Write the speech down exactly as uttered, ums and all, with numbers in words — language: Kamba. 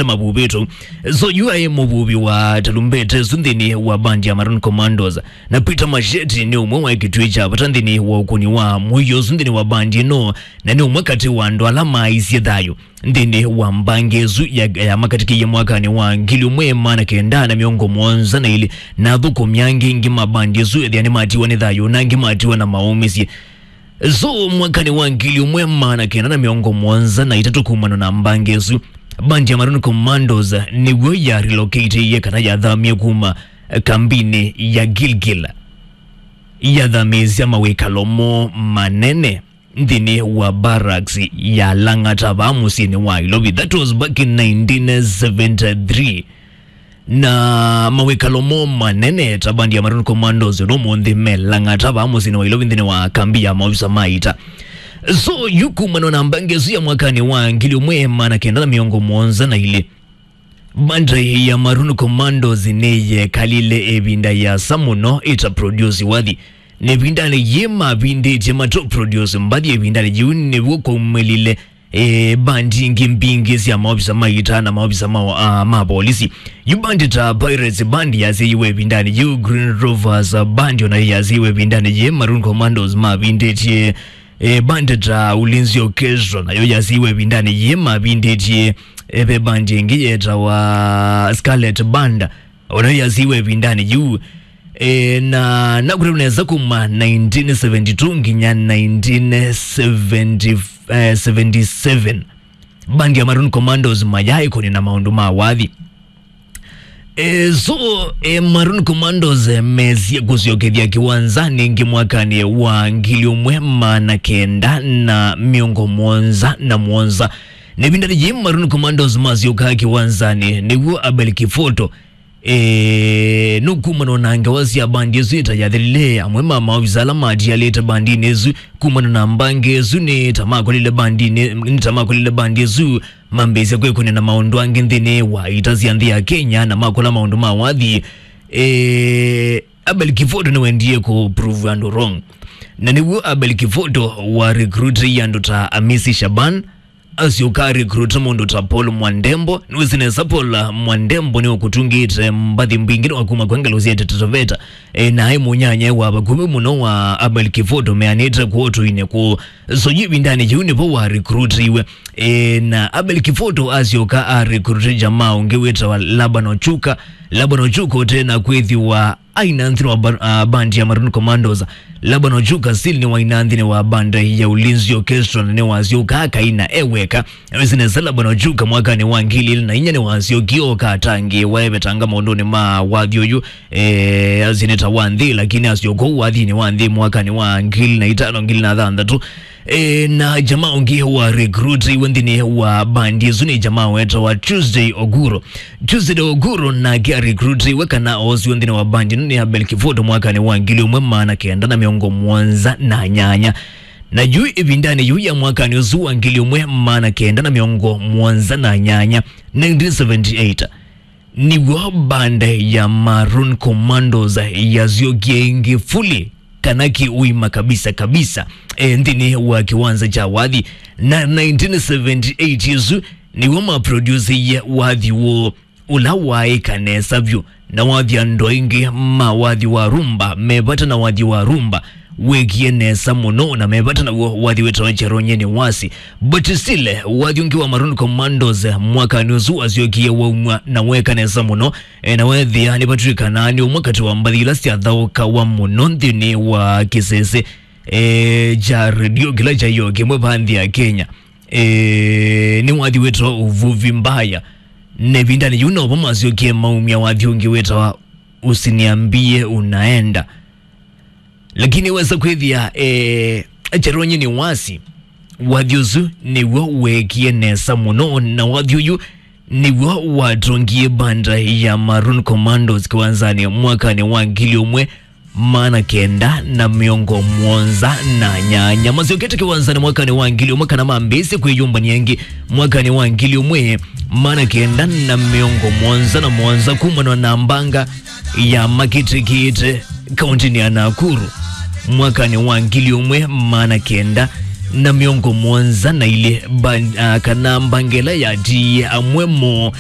mavuvĩtwe. So yu aĩ mũvuvi wa talumbete ũsu nthĩnĩ wa bandi ya Maroon Commandos, na Peter Masheti nĩ ũmwe wa kĩtuĩ kya vata nthĩnĩ wa ũkũni wa mũio ũsu nthĩnĩ wa bandi ĩno, na nĩ ũmwe katĩ wa andũ ala maaisye thayũ nthĩnĩ wa mbangĩ ĩsu ya, ya makatĩkĩie mwakanĩ wa ngili ũmwe maana kenda na mĩongo mũonza na ilĩ, na athũkũmi angĩ aingĩ ma bandi ĩsu ethĩa nĩmatiwa nĩ thayũ, na angĩ matiwa na maũmĩsye. So mwakanĩ wa ngili ũmwe maana kenda na mĩongo mũonza na itatũ, kumana na mbangĩ ĩsu, bandi ya Maroon Commandos nĩw'o ya relocate-ĩie kana yathamie kuma kambinĩ ya Gilgil, yathamĩĩsya mawĩkalo moo manene nthĩnĩ wa barracks ya Lang'ata vaa mũsyĩnĩ wa Ilovi. That was back in nineteen seventy-three. Na mawĩkalo moo manene ta bandi ya Maroon Commandos ũnũmũnthĩ me Lang'ata vaa mũsyĩnĩ wa Ilovi nthĩnĩ wa kambi ya maovisa ma ita. So yu kumana na mbangĩ ĩsu ya mwakanĩ wa ngili ũmwe maana kenda na mĩongo mũonza na ilĩ, bandi ya Maroon Commandos nĩyekalile ĩvinda yĩasa mũno ĩta produce wathi. Na ĩvindanĩ yĩĩ mavindĩtye mato produce mbathi. Ĩvindanĩ yĩu nĩw'o kwaumĩlile e, bandi ingĩ mbingĩ sya maovisa ma ita na maovisa ma, uh, ma polisi. Yu bandi ta Pirates Band yasyaĩwe ĩvindanĩ yĩu, Green Rovers Band onayo yasyaĩwe ĩvindanĩ yĩĩ, Maroon Commandos mavindĩtye. E, bandi ta Ulinzi Orchestra nayo yasyaĩwe ĩvindanĩ yĩĩ, mavindĩtye. E, ve bandi ĩngĩ yetawa Scarlet Band onayo yasyaĩwe ĩvindanĩ yĩu. E, na nakũtavya nesa kuma nineteen seventy-two nginya nineteen seventy, eh, seventy-seven, bandi ya Maroon Commandos mayaĩ kũnina maũndũ ma wathi. E, so, e, Maroon Commandos, e, mesie kũsyokethya kĩwanzanĩ ĩngĩ mwakanĩ wa ngili ũmwe maana kenda na mĩongo mũonza na mũonza. Na ĩvindanĩ yĩĩ Maroon Commandos masyokaa kĩwanzanĩ, nĩw'o Abel Kifoto, e, nũkumana na ngewa sya bandi ĩsu ĩta yathelile. Amwe ma maovisa ala matialĩte bandinĩ ĩsu kumana na mbangĩ ĩsu nĩ ta makolile bandinĩ, nĩ ta makolile bandi ĩsu mambĩĩsya kwĩkũnĩa na maũndũ angĩ nthĩnĩ wa ita sya nthĩ ya Kenya na makola maũndũ ma wathi. E, Abel Kifoto nĩwendie kũ prove andũ wrong. Na nĩw'o Abel Kifoto wa recruit andũ ta Amisi Shaban, asyoka recruit mũndũ ta Paul Mwandembo. Nĩwĩsĩ nesa Paul Mwandembo nĩwe ũkũtungĩte mbathi mbingĩ nĩwakuma kwa ngalũ sya Taita Taveta. E, na aĩ mũnyanyae wa vakuvĩ mũno wa Abel Kifoto meanĩte kũũ tũinĩ kũũ. So yu ĩvindanĩ yĩu nĩvo wa recruitiwe. E, na Abel Kifoto asyoka a recruit jamaa ũngĩ wĩtawa Laban Ochuka. Laban Ochuka ũte na kwĩthĩwa aina nthĩnĩ wa ba-, ah, band ya Maroon Commandos. Laban Ochuka still nĩwaina nthĩnĩ wa band ya Ulinzi Orchestra na nĩwasyoka akaina e weka. Nĩwĩsĩ nesa Laban Ochuka mwakanĩ wa ngili ilĩ na inya nĩwasyokie oka atangĩĩwa evetanga maũndũnĩ ma wathi ũyu. E, asinĩta wa nthĩ, lakini asyoka ũu wathinĩ wa nthĩ mwakanĩ wa ngili na itano, ngili na thanthatũ. E, na jamaa ũngĩ wa recruit iwe nthĩnĩ wa bandi ĩsu nĩ jamaa wetawa Tuesday Oguro. Tuesday Oguro nake a recruit iwe kana oosiwe nthĩnĩ wa bandi ĩno nĩ Abel Kifoto mwakanĩ wa ngili ũmwe maana kenda na mĩongo mũonza na nyanya. Na yu ĩvindanĩ yu ya mwakanĩ ũsu wa ngili ũmwe maana kenda na mĩongo mũonza na nyanya, nineteen seventy-eight, nĩw'o band ya Maroon Commandos yasyokie ĩngĩ fully kana kĩũima kabisa kabisa, e, nthĩnĩ wa kĩwanza kya wathi. Na nineteen seventy-eight ĩsu nĩw'o maprodusiie wathi woo ũla waaĩka nesa vyũ, na wathi andũ aingĩ ma wathi wa rumba me vata na wathi wa rumba weekie nesa mũno, na me vata naw'o wathi wĩtawa Cheronye Niwasi. But still, wathi ũngĩ wa Maroon Commandos mwakanĩ ũsu wasyokie waumw'a na weeka nesa mũno, e, na weethĩa nĩvatw'ĩkana nĩ ũmwe katĩ wa mbathi ila syathaũkawa mũno nthĩnĩ wa kĩsese, e, kya redio kĩla kyaio kĩmwe vaa nthĩ ya Kenya. E, nĩ wathi wĩtawa Uvuvi Mbaya. Na ĩvindanĩ yĩu novo masyokie maumya wathi ũngĩ wĩtawa Usiniambie Unaenda. Lakini wesa kwĩthĩa, e, Cheronye Niwasi, wathi ũsu nĩw'o weekie nesa mũno, na wathi ũyũ nĩw'o watongie band ya Maroon Commandos kĩwanzanĩ mwakanĩ wa ngili ũmwe maana kenda na mĩongo mũonza na nyanya. Masyokete kĩwanzanĩ mwakanĩ wa ngili ũmwe kana mambĩĩsye kwĩyũmbany'a ĩngĩ mwakanĩ wa ngili ũmwe maana kenda na mĩongo mũonza na mũonza kumana na mbanga ya makĩtĩkĩte kaũntĩnĩ ya Nakuru mwakanĩ wa ngili ũmwe maana kenda na mĩongo mũonza na ilĩ, mba-, ah, kana mbanga ĩla yatiie, amwe moo